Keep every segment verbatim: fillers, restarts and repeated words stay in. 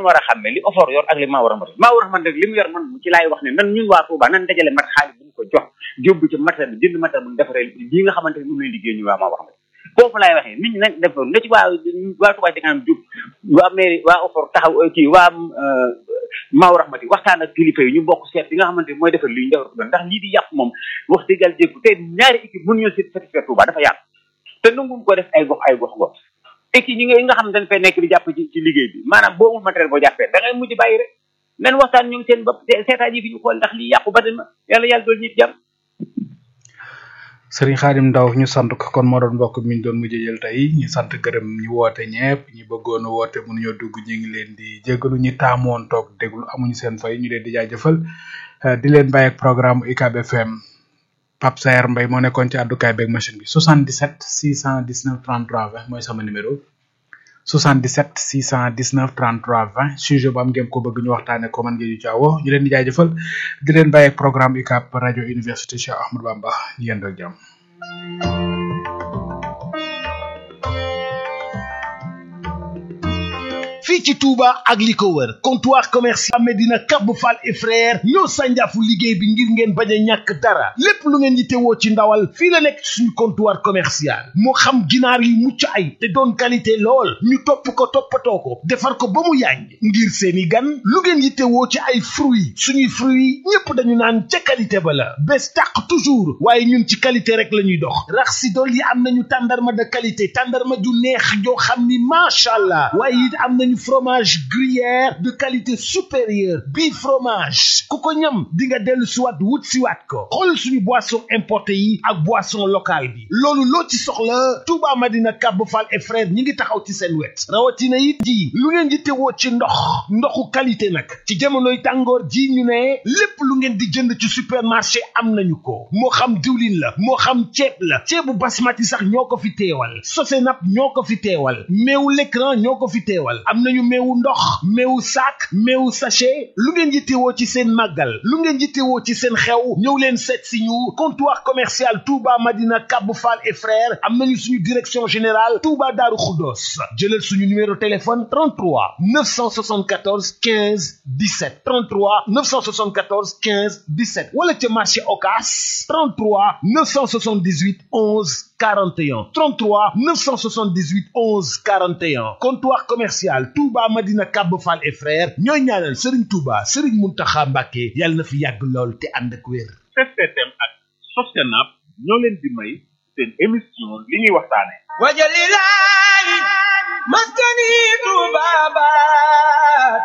war a xam ne li offort yor ak li maa war a mën maa war a mën rek li mu yor man ci laay wax ne nan ñun waa Touba nan dajale mat xaalis bu ñu ko jox jóbbu ci matériel bi jënd matériel bu ñu defaree lii nga xamante ne moom lay liggéey ñu waa maa war a mën foofu laay waxee nit ñi nag def na ci waa waa Touba ci kanam jóg waa mairie waa offort taxaw kii waa maa war a mën waxtaan ak kilifa yi ñu bokk seet li nga xamante ne mooy defar lii ñu defar ko ndax lii di yàq moom wax dëgg yàlla jéggu te ñaari équipe mënuñoo satisfaire Touba dafa yàq te nanguñ ko def ay gox ay gox gox équipe ñi nga nga xam ne dañ fay nekk di jàpp ci ci liggéey bi maanaam boo amul matériel boo jàppee da ngay mujj bàyyi rek nen waxtaan ñu ngi seen bopp seetaan yi fi ñu xool ndax lii yàqu ba dama yàlla yàlla dool ñit jàmm Serigne Khadim Ndaw ñu sant ko kon moo doon mbokk mi ñu doon mujjee jël tey ñu sant gërëm ñu woote ñepp ñi bëggoon a woote mënuñoo dugg ñu ngi leen di jégalu ñi taamoon toog déglu amuñu seen fay ñu leen di jaajëfal di leen bàyyi ak programme U C A B F M Pape Saer Mbaye moo nekkoon ci àddukaay beeg machine bi soixante-dix-sept six cent dix-neuf trente-trois vingt mooy sama numéro soixante-dix-sept six cent dix-neuf trente-trois vingt sujet bu am ngeen ko bëgg ñu waxtaane ko man ngeen ñu caawo ñu leen di jaajëfal di leen bàyyi ak programme U C A B rajo université Cheikh Ahmadou Bamba ñu yéen rek jàmm fii ci Touba ak li ko wër comptoir commercial Medina Kabou Fall et frère ñoo sànjaafu liggéey bi ngir ngeen bañ a ñàkk dara lépp lu ngeen yittewoo ci ndawal fii la nekk suñu comptoir commercial moo xam ginaar yu mucc ay te doon qualité lool ñu topp ko toppatoo ko defar ko ba mu yàññ ngir seeni gan lu ngeen yittewoo ci ay fruits suñuy fruits ñépp dañu naan ca qualité ba la bés tàq toujours waaye ñun ci qualité rek la ñuy dox rax si dool yi am nañu tàndarma de qualité tàndarma ju neex joo xam ni macha allah waaye it am nañu fromage gruyère de qualité supérieure bii fromage ku ko ñam di nga dellu siwaat wut siwaat ko xool suñu boisson importé yi ak boisson locale bi loolu loo ci soxla Touba Madina Kabou Fall et frère ñi ngi taxaw ci seen wet rawatina it ji lu ngeen di tewoo ci ndox ndoxu qualité nag ci jamonoy tàngoor ji ñu ne lépp lu ngeen di jënd ci supermarché am nañu ko moo xam diwlin la moo xam ceeb la ceebu basmati sax ñoo ko fi teewal Sosenap ñoo ko fi teewal meewu l'écran ñoo ko fi teewal am nañu meewu ndox meewu sac meewu sachet lu ngeen yittewoo ci seen màggal lu ngeen yittewoo ci seen xew ñëw leen seet si ñu comptoir commercial Touba Madina Kabou Fall et frères am nañu suñu direction générale Touba Darou Khoudoss jëlal suñu numéro téléphone trente-trois neuf cent soixante-quatorze quinze dix-sept trente-trois neuf cent soixante-quatorze quinze dix-sept wala ca marché Ocass trente-trois neuf cent soixante-dix-huit onze quarante et un trente-trois neuf cent soixante-dix-huit onze quarante et un comptoir commercial Touba Madina Kabou Fall et frères ñooy ñaanal Serigne Touba Serigne Mountakha Mbacké yàlla na fi yàgg lool te ànd ak wér. S T M ak Sosenap ñoo leen di may seen émission li ñuy waxtaane wajalilahi maskani tubabat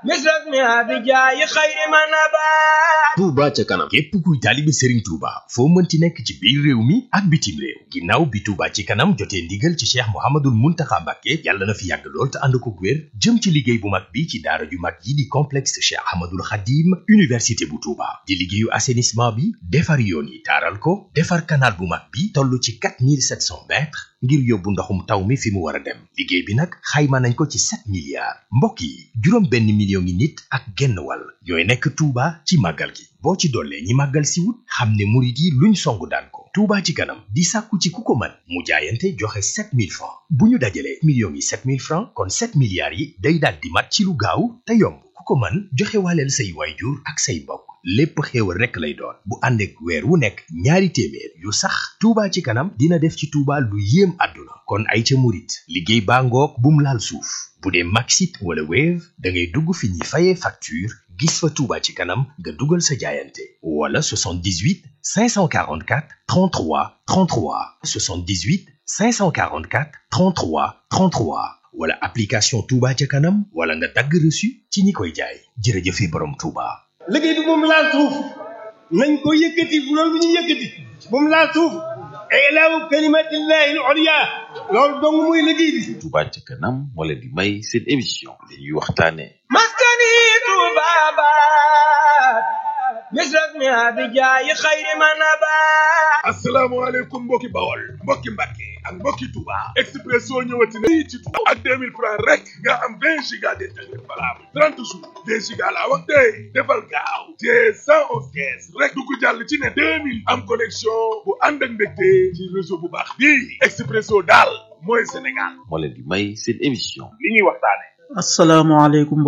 misras mi abijaayi xayri manabat Touba ca kanam képp kuy taalibe Serigne Touba foo mënti nekk ci biir réew mi ak bitim réew ginnaaw bi Touba ci kanam jotee ndigal ci Cheikh Mouhamadoul Mountakha Mbacké yàlla na fi yàgg lool te ànd ko wér jëm ci liggéey bu mag bi ci daara ju mag yi di complexe Cheikh Ahmadoul Khadim université bu Touba di liggéeyu assainissement bi defar yoon yi taaral ko defar canal bu mag bi toll ci quatre mille sept cents mètres ngir yóbbu ndoxum taw mi fi mu war a dem liggéey bi nag xayma nañ ko ci sept milliards mbokk yi juróom benn million ngi nit ak genn wàll ñooy nekk Touba ci màggal gi boo ci dollee ñi màggal si wut xam ne murit yi luñ songu daan ko Touba ci kanam di sàkku ci ku ko mën mu jaayante joxe sept mille francs bu ñu dajalee millions yi sept mille francs kon sept milliards yi day daal di mat ci lu gaaw te yomb ku ko mën joxe waaleel say waayjur ak say mbokk lépp xéewal rekk lay doon bu ànd ak weer wu nekk ñaari téeméer yu sax Touba ci kanam dina def ci Touba lu yéem àdduna kon ay ca murit liggéey baa ngoog bum laal suuf bu dee Maxit wala Wave da ngay dugg fi ñuy fayee facture gis fa Touba ci kanam nga dugal sa jaayante wala soixante-dix-huit cinq cent quarante-quatre trente-trois trente-trois soixante-dix-huit cinq cent quarante-quatre trente-trois trente-trois wala application Touba ca kanam wala nga dagg reçu ci ñi koy jaay jërëjëfe borom Touba. liggéey bi moom laal suuf nañ ko yëkkati bu loolu bu ñu yëkkati moom laal suuf ilaahu kalimatillahi al-ulya loolu dong muy liggéey bi. Touba ca kanam moo leen di may seen émission li ñuy waxtaane maskani tubabat misras mi abijaayi xayri manabat asalaamaaleykum mbokki Bawol mbokki Mbàkke ak mbokki Touba Expresso ñëwati na ci Touba ak deux mille francs rek nga am vingt giga d'internet valable trente jours deux giga laa wax tey defal gaaw te cent onze caisse rek du ko jàll ci ne deux mille am connexion bu ànd ak mbégte ci réseau bu baax bii Expresso daal mooy Sénégal moo leen di may seen émission li ñuy waxtaane asalaamaaleykum